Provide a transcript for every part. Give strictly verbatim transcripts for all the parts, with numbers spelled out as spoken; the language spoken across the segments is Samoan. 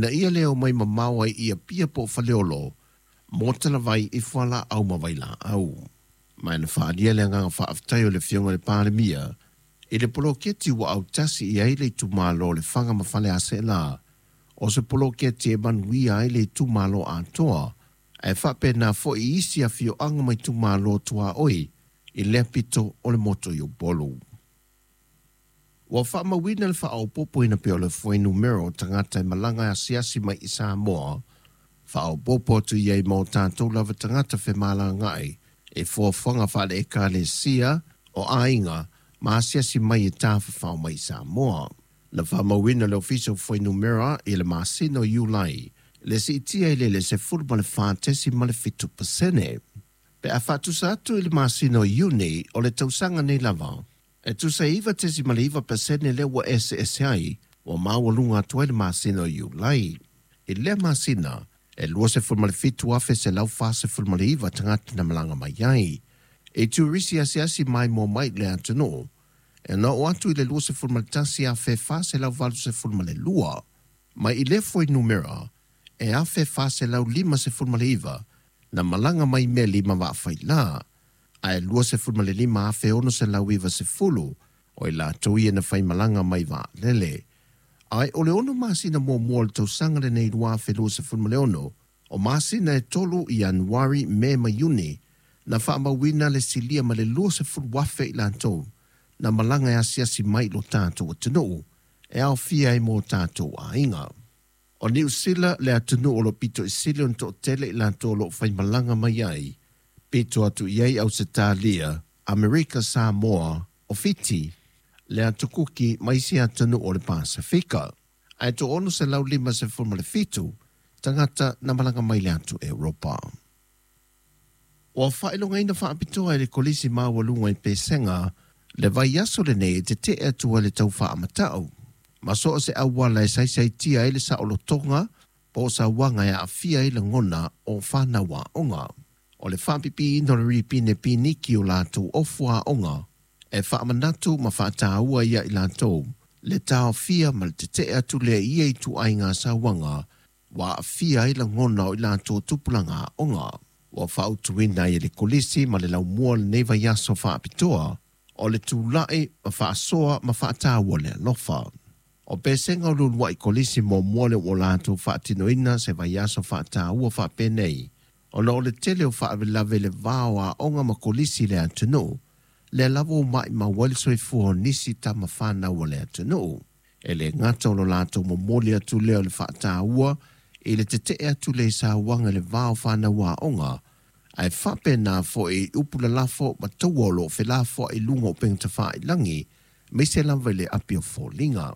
Ina ia le omai mamao ai i Apia po o Faleolo mo talavai i fualaau ma vailaau. Ma na faaalia le agaga faafetai o le Afioga i le Palemia i le poloketi ua autasi i ai le itumalo o Lefaga ma Faleaseela, o se poloketi e manuia ai le itumalo atoa, ae faapena foi i isi afioaga ma itumalo tuaoi i lea pito o le motu i Upolu. Ua faamauina le faaopoopoina pea o le fuainumera o tagata e malaga asiasi mai i Samoa, faaopoopo atu i ai ma o tatou lava tagata femalagaai e fuafuaga faale-ekalesia o aiga ma asiasi mai e tafafao mai i Samoa. Na faamauina le Ofisa o Fuainumera i le masina o Iulai le siitia i le le sefulu ma le fa tesima le fitu pasene. Pe a faatusa atu i le masina o Iuni o le tausaga nei lava, e tusa e iva tesima le iva pasene lea ua eseese ai ua maualuga atu ai le masina o Iulai. I lea masina, e luasefulu ma le fitu afe selau fasefulu ma le iva tagata na malaga mai ai. E turisi asiasi maimoa mai i le atunuu, e na oo atu i le luasefulu ma le tasi afe fa selau valusefulu ma le lua. Mai i lea fuainumera, e afe fa selau limasefulu ma le iva na malaga mai meli ma vaafaila, ae luasefulu ma le lima afe ono selau ivasefulu o i latou ia na faimalaga mai vaalele. Ae o le ono masina muamua o le tausaga lenei lua afe luasefulu ma le ono, o masina e tolu i Ianuari, Me ma Iuni, na faamauina le silia ma le luasefulu afe i latou na malaga e asiasi mai i lo tatou atunuu e aofia ai ma o tatou aiga. O Niu Sila le atunuu o lo o pito i sili ona toatele i latou o lo o faimalaga mai ai, pito atu i ai Ausetalia, Amerika Samoa, o Fiti, le Atu Kuki ma isi atunuu o le Pasefika. Ae toaono selau limasefulu ma le fitu tagata na malaga mai le atu Europa. Ua faailogaina faapitoa e le Kolisi Maualuga i Pesega le vaiaso lenei e tetee atu ai le tau faamatau ma so o se auala e saisaitia ai le saolotoga po o sauaga e aafia ai lagona o fanau aoga. O le faapipiina o le ripine piniki o latou ofu aoga e faamanatu ma faataua ia i latou le taofia ma le tetee atu lea i ia ituaiga sauaga ua aafia ai lagona o i latou tupulaga aoga. Ua fautuaina ai e le Kolisi ma le laumua lenei vaiaso faapitoa o le tulai ma faasoa ma faataua le alofa. O pesega o le uluai kolisi muamua lea ua latou faatinoina se vaiaso faataua faapenei, ona o le tele o faalavelave i le va o aoga ma kolisi i le atunuu, lea lava ua maumau ai le soifua o nisi tama fanau o le atunuu. E le gata o lo latou momoli atu lea o le faataua i le tetee atu lea i sauaga i le va o fanau aoga, ae faapena foi i upu lalafo ma taua o lo o felafoai i luga o upega tafailagi, aemaise lava i le api o foliga.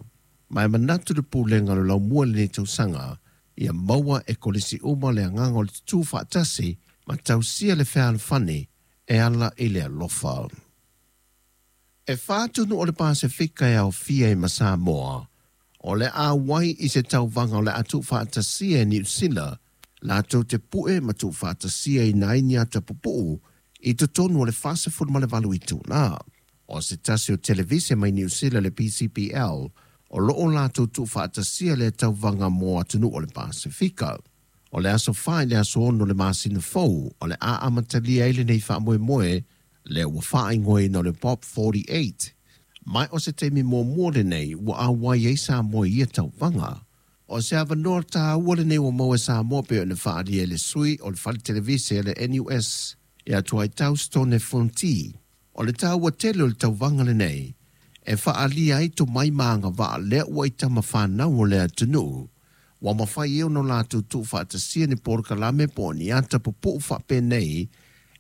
Ma e manatu le Pulega o le Laumua i lenei tausaga, ia maua e kolisi uma le agaga o le tutū faatasi ma tausia le fealofani e ala i le alofa. E fa atunuu o le Pasefika e aofia ai ma Samoa, o le a auai i se tauvaga o le a tuufaatasia e Niu Sila latou te pue ma tuufaatasiaina ai ni ata pupuu i totonu o le fasefulu ma le valu itula. O se tasi o televise mai Niu Sila le P C P L, o loo latou tuufaatasia lea tauvaga mo atunuu o le Pasefika. O le aso fa i le aso ono o le masina fou, o le a amatalia ai lenei faamoemoe lea ua faaigoaina o le Pop forty eight. Mai o se taimi muamua lenei ua auai ai Samoa i ia tauvaga. O se avanoa taua lenei ua maua e Samoa pei ona faaalia e le sui o le fale televise le N U S ia Tuaitau Stone Fonti. O le taua tele o le tauvaga lenei e faaalia ai tomai ma agavaa lea ua i tama fanau o le atunuu. Ua mafai e ona latou tuufaatasia ni polokalame po o ni ata pupuu faapenei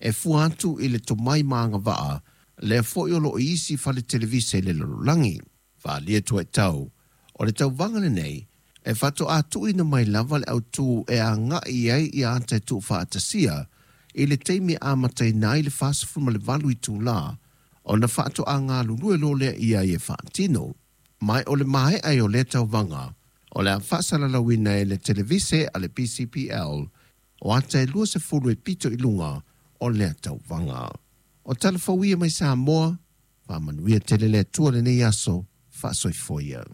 e fua atu i le tomai ma agavaa lea foi o loo i isi fale televise i le lalolagi. Faaalia Tuaitau, o le tauvaga lenei e faatoa tuuina mai lava le autū e agai ai ia ata e tuufaatasia i le taimi e amataina ai le fasefulu ma le valu itulā ona faatoa galulue loa lea ia i e faatino. Mai o le maea ai o lea tauvaga, o le a faasalalauina e le televise a le P C P L o ata e luasefulu e pito i luga o lea tauvaga. O tala fou ia mai Samoa, faamanuia tele le Atua lenei aso, faasoifua ia.